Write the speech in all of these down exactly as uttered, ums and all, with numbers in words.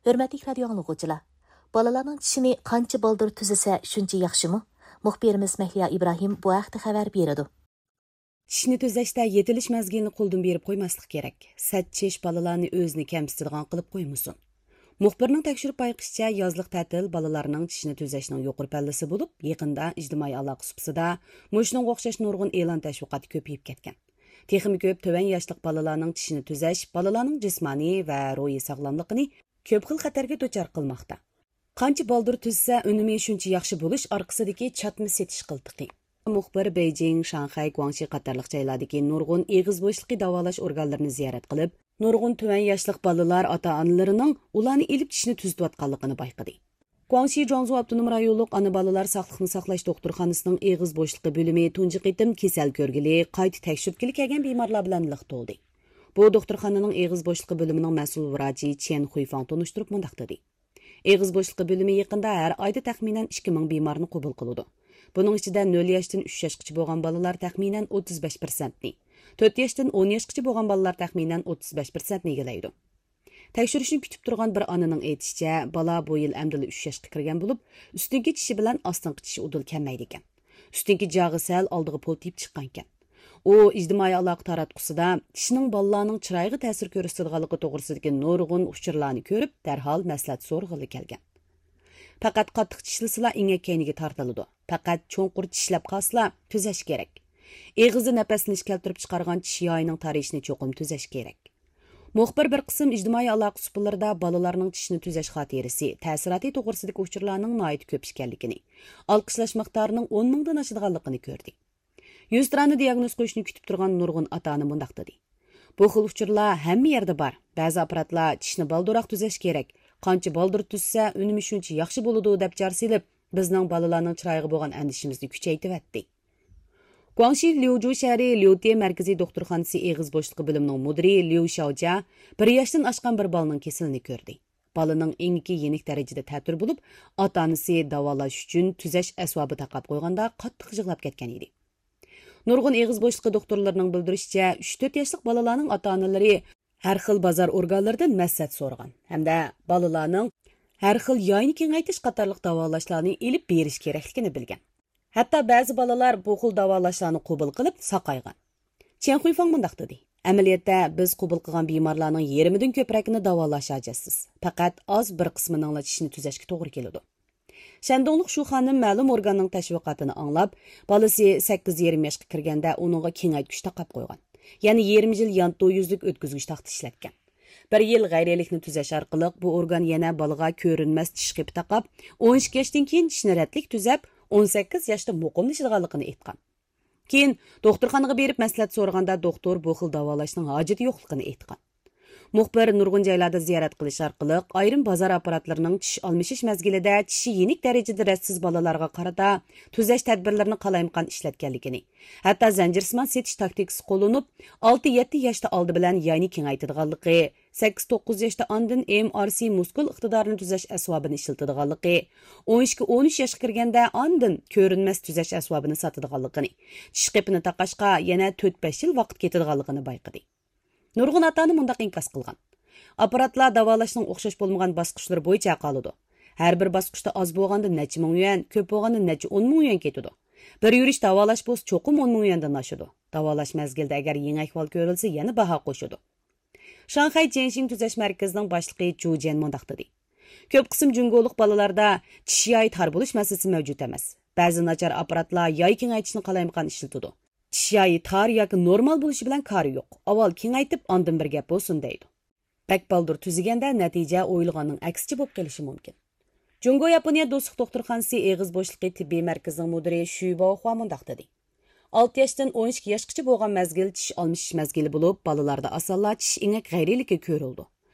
ھۆرمەتلىك رادىيو ئاڭلىغۇچىلار! بالىلارنىڭ چىشىنى قانچە بالدۇر تۈزىسە، شۇنچە ياخشىمۇ؟ مۇخبىرىمىز مەھلىيا ئىبراھىم بۇ ھەقتە خەۋەر بېرىدۇ. چىشنى تۈزەشتە يېتىلىش مەزگىلىنى قولدىن بېرىپ قويماسلىق كېرەك. سەت چىش بالىلارنى ئۆزىنى كەمسىتىدىغان قىلىپ قويمىسۇن. مۇخبىرنىڭ تەكشۈرۈپ بايقىشىچە، يازلىق تەتىل بالىلارنىڭ چىشنى تۈزەشنىڭ يۇقىرى پەللىسى بولۇپ، يېقىندا ئىجتىمائىي ئالاقە سۇپىسىدا مۇشۇنىڭغا ئوخشاش نۇرغۇن ئېلان تەشۋىقاتى كۆپىيىپ كەتكەن. تېخىمۇ كۆپ تۆۋەن ياشلىق بالىلارنىڭ چىشىنى تۈزەش بالىلارنىڭ جىسمانىي ۋە روھىي ساغلاملىقىنى كۆپ خىل خەتەرگە دۇچار قىلماقتا. قانچە بالدۇر تۈزسە، ئۈنۈمى شۇنچە ياخشى بولۇش ئارقىسىدىكى چاتما سېتىش قىلتىقى. مۇخبىر بېيجىڭ، شاڭخەي، گۇاڭشى قاتارلىق جايلاردىكى نۇرغۇن ئېغىز بوشلۇقى داۋالاش ئورگانلىرىنى زىيارەت قىلىپ، نۇرغۇن تۆۋەن ياشلىق بالىلار ئاتا-ئانىلىرىنىڭ ئۇلارنى ئېلىپ چىشنى تۈزىتىۋاتقانلىقىنى بايقىدى. گۇاڭشى جۇاڭزۇ ئاپتونوم رايونلۇق ئانا بالىلار ساقلىقنى ساقلاش دوختۇرخانىسىنىڭ ئېغىز بوشلۇقى بۆلۈمى تۇنجى قېتىم كېسەل كۆرگىلى، قايتا تەكشۈرتكىلى كەلگەن بىمارلار بىلەن لىق تولدى. بۇ دوختۇرخانىنىڭ ئېغىز بوشلۇقى بۆلۈمىنىڭ مەسئۇل ۋراچى چيەن خۇيفاڭ تونۇشتۇرۇپ مۇنداق دېدى: ئېغىز بوشلۇقى بۆلۈمى يېقىندا ھەر ئايدا تەخمىنەن ئىككى مىڭ بىمارنى قوبۇل قىلىدۇ. بۇنىڭ ئىچىدە نۆل ياشتىن ئۈچ ياشقىچە بولغان بالىلار تەخمىنەن ئوتتۇز بەش پىرسەنتنى، تۆت ياشتىن ئون ياشقىچە بولغان بالىلار تەخمىنەن ئوتتۇز بەش پىرسەنتنى ئىگىلەيدۇ. تەكشۈرۈشنى كۈتۈپ تۇرغان بىر ئانىنىڭ ئېيتىشىچە، بالا بۇ يىل ئەمدىلا ئۈچ ياشقا كىرگەن بولۇپ، ئۈستۈنكى چىشى بىلەن ئاستىنقى چىشى ئۇدۇل كەلمەيدىكەن. ئۈستۈنكى جاغى سەل ئالدىغا پولتىيىپ چىققانىكەن. ئۇ ئىجتىمائىي ئالاقە تاراتقۇسىدا چىشنىڭ بالىلارنىڭ چىرايىغا تەسىر كۆرسىتىدىغانلىقى توغرىسىدىكى نۇرغۇن ئۇچۇرلارنى كۆرۈپ، دەرھال مەسلىھەت سورىغىلى كەلگەن. پەقەت قاتتىق چىشلىسىلا ئېڭەك كەينىگە تارتىلىدۇ. پەقەت چوڭقۇر چىشلەپ قالسىلا تۈزەش كېرەك. ئېغىزدا نەپەسلىنىش كەلتۈرۈپ چىقارغان چىش يايىنىڭ تارىيىشىنى چوقۇم تۈزەش كېرەك. مۇخبىر بىر قىسىم ئىجتىمائىي ئالاقە سۇپىلىرىدا بالىلارنىڭ چىشنى تۈزەش خاتىرىسى، تەسىراتى توغرىسىدىكى ئۇچۇرلارنىڭ ناھايىتى كۆپ ئىكەنلىكىنى، ئالقىشلاش مىقدارىنىڭ ئون مىڭدىن ئاشىدىغانلىقىنى كۆردى. يۈزتۇرانە دىياگنوز قويۇشنى كۈتۈپ تۇرغان نۇرغۇن ئاتا-ئانا مۇنداق دېدى: بۇ خىل ئۇچۇرلار ھەممە يەردە بار. بەزى ئاپپاراتلار چىشنى بالدۇرراق تۈزەش كېرەك، قانچە بالدۇر تۈزسە، ئۈنۈمى شۇنچە ياخشى بولىدۇ، دەپ جار سېلىپ، بىزنىڭ بالىلارنىڭ چىرايىغا بولغان ئەندىشىمىزنى كۈچەيتىۋەتتى. گۇاڭشى ليۇجۇ شەھىرى ليۇتې مەركىزىي دوختۇرخانىسى ئېغىز بوشلۇقى بۆلۈمىنىڭ مۇدىرى ليۇ شاۋجيا بىر ياشتىن ئاشقان بىر بالىنىڭ كېسىلىنى كۆردى. بالىنىڭ ئېڭىكى يېنىك دەرىجىدە تەتۈر بولۇپ، ئاتا-ئانىسى داۋالاش ئۈچۈن تۈزەش ئەسۋابى تاقاپ قويغاندا قاتتىق يىغلاپ كەتكەن ئىدى. نۇرغۇن ئېغىز بوشلۇقى دوختۇرلىرىنىڭ بىلدۈرۈشىچە، ئۈچ تۆت ياشلىق بالىلارنىڭ ئاتا-ئانىلىرى ھەر خىل بازار ئورگانلىرىدىن مەسلىھەت سورىغان ھەمدە بالىلارنىڭ ھەر خىل ياينى كېڭەيتىش قاتارلىق داۋالاشلارنى ئېلىپ بېرىش كېرەكلىكىنى بىلگەن. ھەتتا بەزى بالىلار بۇ خىل داۋالاشلارنى قوبۇل قىلىپ ساقايغان. چيەن خۇيفاڭ مۇنداق دېدى: ئەمەلىيەتتە، بىز قوبۇل قىلغان بىمارلارنىڭ يېرىمىدىن كۆپرەكىنى داۋالاش ھاجەتسىز. پەقەت ئاز بىر قىسمىنىڭلا چىشىنى تۈزەشكە توغرا كېلىدۇ. شەندۇڭلۇق شۇ خانىم مەلۇم ئورگاننىڭ تەشۋىقاتىنى ئاڭلاپ، بالىسى سەككىز يېرىم ياشقا كىرگەندە ئۇنىڭغا كېڭەيتكۈچ تاقاپ قويغان. يەنە يېرىم يىل يانتۇ يۈزلۈك ئۆتكۈزگۈچ تاختا ئىشلەتكەن. بىر يىل غەيرىيلىكنى تۈزەش ئارقىلىق بۇ ئورگان يەنە بالىغا كۆرۈنمەس چىش قېپى تاقاپ، ئون ئىككى ياشتىن كېيىن چىشنى رەتلىك تۈزەپ، ئون سەككىز ياشتا مۇقىملىشىدىغانلىقىنى ئېيتقان. كېيىن دوختۇرخانىغا بېرىپ مەسلىھەت سورىغاندا، دوختۇر بۇ خىل داۋالاشنىڭ ھاجىتى يوقلۇقىنى ئېيتقان. مۇخبىر نۇرغۇن جايلاردا زىيارەت قىلىش ئارقىلىق، ئايرىم بازار ئاپپاراتلىرىنىڭ چىش ئالمىشىش مەزگىلىدە چىشى يېنىك دەرىجىدە رەتسىز بالىلارغا قارىتا تۈزەش تەدبىرلىرىنى قالايمىقان ئىشلەتكەنلىكىنى، ھەتتا زەنجىرسىمان سېتىش تاكتىكىسى قوللىنىپ، ئالتە يەتتە ياشتا ئالدى بىلەن ياينى كېڭەيتىدىغانلىقى، سەككىز توققۇز ياشتا ئاندىن ئېم ئار سى مۇسكۇل ئىقتىدارىنى تۈزەش ئەسۋابىنى ئىشلىتىدىغانلىقى، ئون ئىككى ئون ئۈچ ياشقا كىرگەندە ئاندىن كۆرۈنمەس تۈزەش ئەسۋابىنى ساتىدىغانلىقىنى، چىش قېپىنى تاقاشقا يەنە تۆت بەش يىل ۋاقىت كېتىدىغانلىقىنى بايقىدى. نۇرغۇن ئاتا-ئانا مۇنداق ئىنكاس قىلغان: ئاپپاراتلار داۋالاشنىڭ ئوخشاش بولمىغان باسقۇچلىرى بويىچە ھەل قىلىدۇ. ھەر بىر باسقۇچتا ئاز بولغاندا نەچچە مىڭ يۈەن، كۆپ بولغاندا نەچچە ئون مىڭ يۈەن كېتىدۇ. بىر يۈرۈش داۋالاش بولسا چوقۇم ئون مىڭ يۈەندىن ئاشىدۇ. داۋالاش مەزگىلىدە ئەگەر يېڭى ئەھۋال كۆرۈلسە يەنە باھا قوشىدۇ. شاڭخەي جيەنشىڭ تۈزەش مەركىزىنىڭ باشلىقى جۇ جيەن مۇنداق دېدى: كۆپ قىسىم جۇڭگولۇق بالىلاردا چىش يايى تار بولۇش مەسىلىسى مەۋجۇت ئەمەس. بەزى ناچار ئاپپاراتلار ياي كېڭەيتىشنى قالايمىقان ئىشلىتىدۇ. چىش يايى تار ياكى نورمال بولۇشى بىلەن كارى يوق. ئاۋۋال كېڭەيتىپ، ئاندىن بىر گەپ بولسۇن دەيدۇ. بەك بالدۇر تۈزىگەندە نەتىجە ئويلىغاننىڭ ئەكسىچە بولۇپ قېلىشى مۇمكىن. جۇڭگو ياپونىيە دوستلۇق دوختۇرخانىسى ئېغىز بوشلۇقى تېببىي مەركىزىنىڭ مۇدىرى شۈ باۋخۇا مۇنداق دېدى: ئالتە ياشتىن ئون ئىككى ياشقىچە بولغان مەزگىل چىش ئالمىشىش مەزگىلى بولۇپ، بالىلاردا ئاسانلا چىش ئېڭەك غەيرىيلىكى كۆرۈلىدۇ.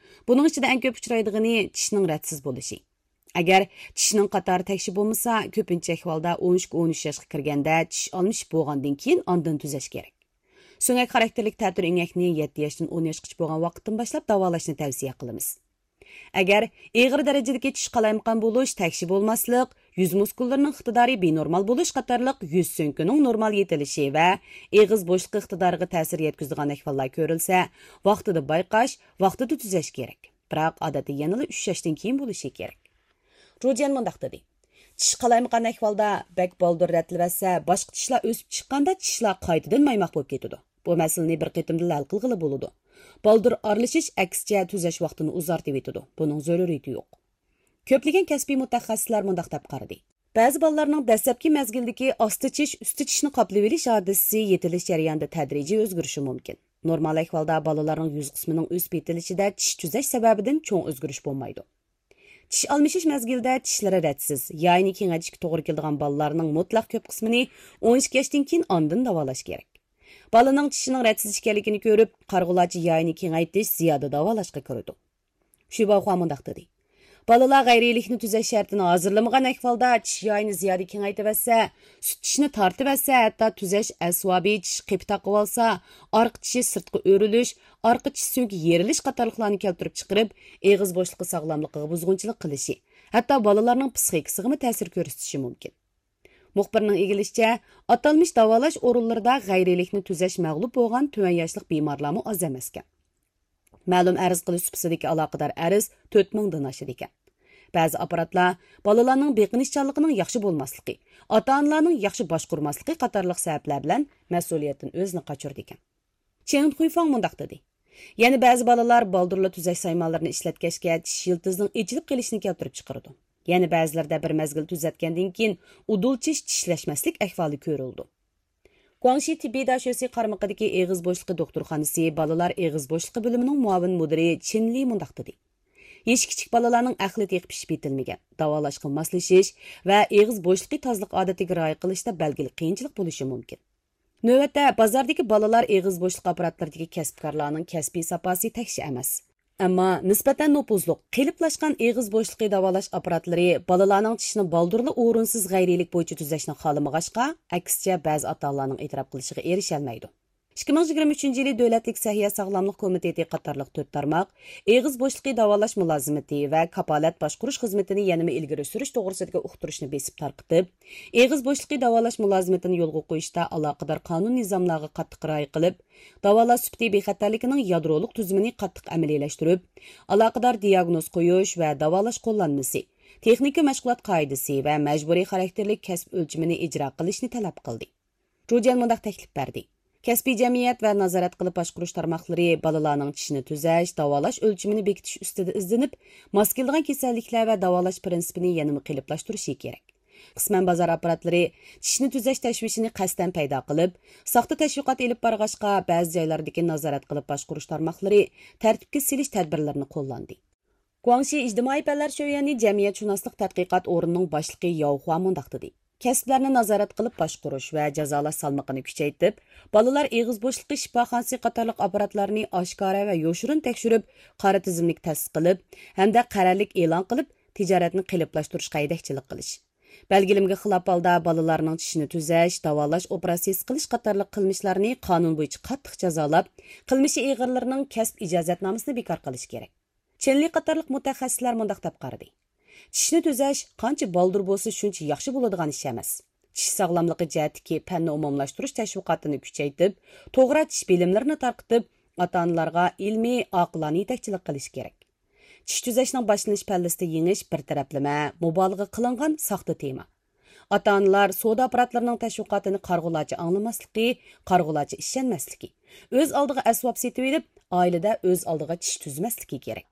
بۇنىڭ ئىچىدە ئەڭ كۆپ ئۇچرايدىغىنى چىشنىڭ رەتسىز بولۇشى. ئەگەر چىشنىڭ قاتارى تەكشى بولمىسا، كۆپىنچە ئەھۋالدا ئون ئىككى ئون ئۈچ ياشقا كىرگەندە چىش ئالمىشىپ بولغاندىن كېيىن ئاندىن تۈزەش كېرەك. سۆڭەك خاراكتېرلىك تەتۈر ئېڭەكنى يەتتە ياشتىن ئون ياشقىچە بولغان ۋاقىتتىن باشلاپ داۋالاشنى تەۋسىيە قىلىمىز. ئەگەر ئېغىر دەرىجىدىكى چىش قالايمىقان بولۇش، تەكشى بولماسلىق، يۈز مۇسكۇللىرىنىڭ ئىقتىدارى بىنورمال بولۇش قاتارلىق يۈز سۆڭىكىنىڭ نورمال يېتىلىشى ۋە ئېغىز بوشلۇقى ئىقتىدارىغا تەسىر يەتكۈزىدىغان ئەھۋاللار كۆرۈلسە، ۋاقتىدا بايقاش، ۋاقتىدا تۈزەش كېرەك. بىراق ئادەتتە يەنىلا ئۈچ ياشتىن كېيىن بولۇشى كېرەك. جۇجيەن مۇنداق دېدى: چىش قالايمىقان ئەھۋالدا بەك بالدۇر رەتلىۋەتسە، باشقا چىشلار ئۆسۈپ چىققاندا چىشلار قايتىدىن مايماق بولۇپ كېتىدۇ. بۇ مەسىلىنى بىر قېتىمدىلا ھەل قىلغىلى بولىدۇ. بالدۇر ئارىلىشىش ئەكسىچە تۈزەش ۋاقتىنى ئۇزارتىۋېتىدۇ. بۇنىڭ زۆرۈرىيىتى يوق. كۆپلىگەن كەسپىي مۇتەخەسسىسلەر مۇنداق دەپ قارىدى: بەزى بالىلارنىڭ دەسلەپكى مەزگىلدىكى ئاستا چىش، ئۈستى چىشنى قاپلىۋېلىش ھادىسىسى يېتىلىش جەريانىدا تەدرىجىي ئۆزگىرىشى مۇمكىن. نورمال ئەھۋالدا بالىلارنىڭ يۈز قىسمىنىڭ ئۆسۈپ يېتىلىشىدە چىش تۈزەش سەۋەبىدىن چوڭ ئۆزگىرىش بولمايدۇ. چىش ئالمىشىش مەزگىلىدە چىشلىرى رەتسىز، يايىنى كېڭەيتىشكە توغرا كېلىدىغان بالىلارنىڭ مۇتلەق كۆپ قىسمىنى ئون ئىككى ياشتىن كېيىن ئاندىن داۋالاش كېرەك. بالىنىڭ چىشىنىڭ رەتسىز ئىكەنلىكىنى كۆرۈپ، قارىغۇلارچە يايىنى كېڭەيتىش زىيادە داۋالاشقا كىرىدۇ. شۈباخۇا مۇنداق دېدى: بالىلار غەيرىيلىكنى تۈزەش شەرتىنى ھازىرلىمىغان ئەھۋالدا چىش يايىنى زىيادە كېڭەيتىۋەتسە، سۈت چىشنى تارتىۋەتسە، ھەتتا تۈزەش ئەسۋابى، چىش قېپى تاقىۋالسا، ئارقا چىشى سىرتقا ئۆرۈلۈش، ئارقا چىش سۆڭىكى يېرىلىش قاتارلىقلارنى كەلتۈرۈپ چىقىرىپ، ئېغىز بوشلۇقى ساغلاملىقىغا بۇزغۇنچىلىق قىلىشى، ھەتتا بالىلارنىڭ پىسخىكىسىغىمۇ تەسىر كۆرسىتىشى مۇمكىن. مۇخبىرنىڭ ئىگىلىشىچە، ئاتالمىش داۋالاش ئورۇنلىرىدا غەيرىيلىكنى تۈزەش مەغلۇپ بولغان تۆۋەن ياشلىق بىمارلارمۇ ئاز ئەمەسكەن. مەلۇم ئەرز قىلىش سۇپىسىدىكى ئالاقىدار ئەرز تۆت مىڭدىن ئاشىدىكەن. بەزى ئاپپاراتلار بالىلارنىڭ بېقىنىشچانلىقىنىڭ ياخشى بولماسلىقى، ئاتا-ئانىلارنىڭ ياخشى باشقۇرماسلىقى قاتارلىق سەۋەبلەر بىلەن مەسئۇلىيەتتىن ئۆزىنى قاچۇرىدىكەن. چېڭ خۇيفاڭ مۇنداق دېدى: يەنە بەزى بالىلار بالدۇرلا تۈزەش سايمانلىرىنى ئىشلەتكەچكە چىش يىلتىزىنىڭ ئېچىلىپ قېلىشىنى كەلتۈرۈپ چىقىرىدۇ. يەنە بەزىلىرىدە بىر مەزگىل تۈزەتكەندىن كېيىن ئۇدۇل چىش چىشلەشمەسلىك ئەھۋالى كۆرۈلىدۇ. گۇاڭشى تېببىي داشۆسى قارمىقىدىكى ئېغىز بوشلۇقى دوختۇرخانىسى بالىلار ئېغىز بوشلۇقى بۆلۈمىنىڭ مۇئاۋىن مۇدىرى چىن لى مۇنداق دېدى: يېشى كىچىك بالىلارنىڭ ئەقلى تېخى پىشىپ يېتىلمىگەن، داۋالاشقا ماسلىشىش ۋە ئېغىز بوشلۇقى تازىلىق ئادىتىگە رىئايە قىلىشتا بەلگىلىك قىيىنچىلىق بولۇشى مۇمكىن. نۆۋەتتە بازاردىكى بالىلار ئېغىز بوشلۇق ئاپپاراتلىرىدىكى كەسىپكارلارنىڭ كەسپىي ساپاسى تەكشى ئەمەس. ئەمما نىسبەتەن نوپۇزلۇق، قېلىپلاشقان ئېغىز بوشلۇقى داۋالاش ئاپپاراتلىرى بالىلارنىڭ چىشىنى بالدۇرلا ئورۇنسىز غەيرىيلىك بويىچە تۈزەشنى خالىمىغاچقا، ئەكسىچە بەزى ئاتا-ئانىلارنىڭ ئېتىراپ قىلىشىغا ئېرىشەلمەيدۇ. ئىككى مىڭ يىگىرمە ئۈچىنچى يىلى دۆلەتلىك سەھىيە ساغلاملىق كومىتېتى قاتارلىق تۆت تارماق ئېغىز بوشلۇقى داۋالاش مۇلازىمىتى ۋە كاپالەت باشقۇرۇش خىزمىتىنى يەنىمۇ ئىلگىرى سۈرۈش توغرىسىدىكى ئۇقتۇرۇشنى بېسىپ تارقىتىپ، ئېغىز بوشلۇقى داۋالاش مۇلازىمىتىنى يولغا قويۇشتا ئالاقىدار قانۇن نىزاملارغا قاتتىق رىئايە قىلىپ، داۋالاش سۈپىتى بىخەتەرلىكىنىڭ يادرولۇق تۈزۈمىنى قاتتىق ئەمەلىيلەشتۈرۈپ، ئالاقىدار دىياگنوز قويۇش ۋە داۋالاش قوللانمىسى، تېخنىكا مەشغۇلات قائىدىسى ۋە مەجبۇرىي خاراكتېرلىك كەسىپ ئۆلچىمىنى ئىجرا قىلىشنى تەلەپ قىلدى. جۇجيەن مۇنداق تەكلىپ بەردى: كەسپىي جەمئىيەت ۋە نازارەت قىلىپ باشقۇرۇش تارماقلىرى بالىلارنىڭ چىشىنى تۈزەش، داۋالاش ئۆلچىمىنى بېكىتىش ئۈستىدە ئىزدىنىپ، ماس كېلىدىغان كېسەللىكلەر ۋە داۋالاش پىرىنسىپىنى يەنىمۇ قېلىپلاشتۇرۇشى كېرەك. قىسمەن بازار ئاپپاراتلىرى چىشنى تۈزەش تەشۋىشىنى قەستەن پەيدا قىلىپ، ساختا تەشۋىقات ئېلىپ بارغاچقا، بەزى جايلاردىكى نازارەت قىلىپ باشقۇرۇش تارماقلىرى تەرتىپكە سېلىش تەدبىرلىرىنى قوللاندى. گۇاڭشى ئىجتىمائىي پەنلەر شۆيۈەنى جەمئىيەتشۇناسلىق تەتقىقات ئورنىنىڭ باشلىقى ياۋ خۇا مۇنداق دېدى: كەسىپلەرنى نازارەت قىلىپ باشقۇرۇش ۋە جازالاش سالمىقىنى كۈچەيتىپ، بالىلار ئېغىز بوشلۇقى شىپاخانىسى قاتارلىق ئاپپاراتلارنى ئاشكارا ۋە يوشۇرۇن تەكشۈرۈپ، قارا تىزىملىك تەسىس قىلىپ ھەمدە قەرەللىك ئېلان قىلىپ، تىجارەتنى قېلىپلاشتۇرۇشقا ھەيدەكچىلىك قىلىش. بەلگىلىمىگە خىلاپ ھالدا بالىلارنىڭ چىشىنى تۈزەش، داۋالاش ئوپېراتسىيىسى قىلىش قاتارلىق قىلمىشلارنى قانۇن بويىچە قاتتىق جازالاپ، قىلمىشى ئېغىرلىرىنىڭ كەسىپ ئىجازەتنامىسىنى بىكار قىلىش كېرەك. چېن لى قاتارلىق مۇتەخەسسىسلەر مۇنداق دەپ قارىدى: چىشنى تۈزەش قانچە بالدۇر بولسا، شۇنچە ياخشى بولىدىغان ئىش ئەمەس. چىش ساغلاملىقى جەھەتتىكى پەننى ئومۇملاشتۇرۇش تەشۋىقاتىنى كۈچەيتىپ، توغرا چىش بىلىملىرىنى تارقىتىپ، ئاتا-ئانىلارغا ئىلمىي، ئاقىلانە يېتەكچىلىك قىلىش كېرەك. چىش تۈزەشنىڭ باشلىنىش پەللىسىدە يېڭىش بىر تەرەپلىمە، مۇبالىغە قىلىنغان ساختا تېما. ئاتا-ئانىلار سودا ئاپپاراتلىرىنىڭ تەشۋىقاتىنى قارىغۇلارچە ئاڭلىماسلىقى، قارىغۇلارچە ئىشەنمەسلىكى، ئۆز ئالدىغا ئەسۋاب سېتىۋېلىپ، ئائىلىدە ئۆز ئالدىغا چىش تۈزمەسلىكى كېرەك.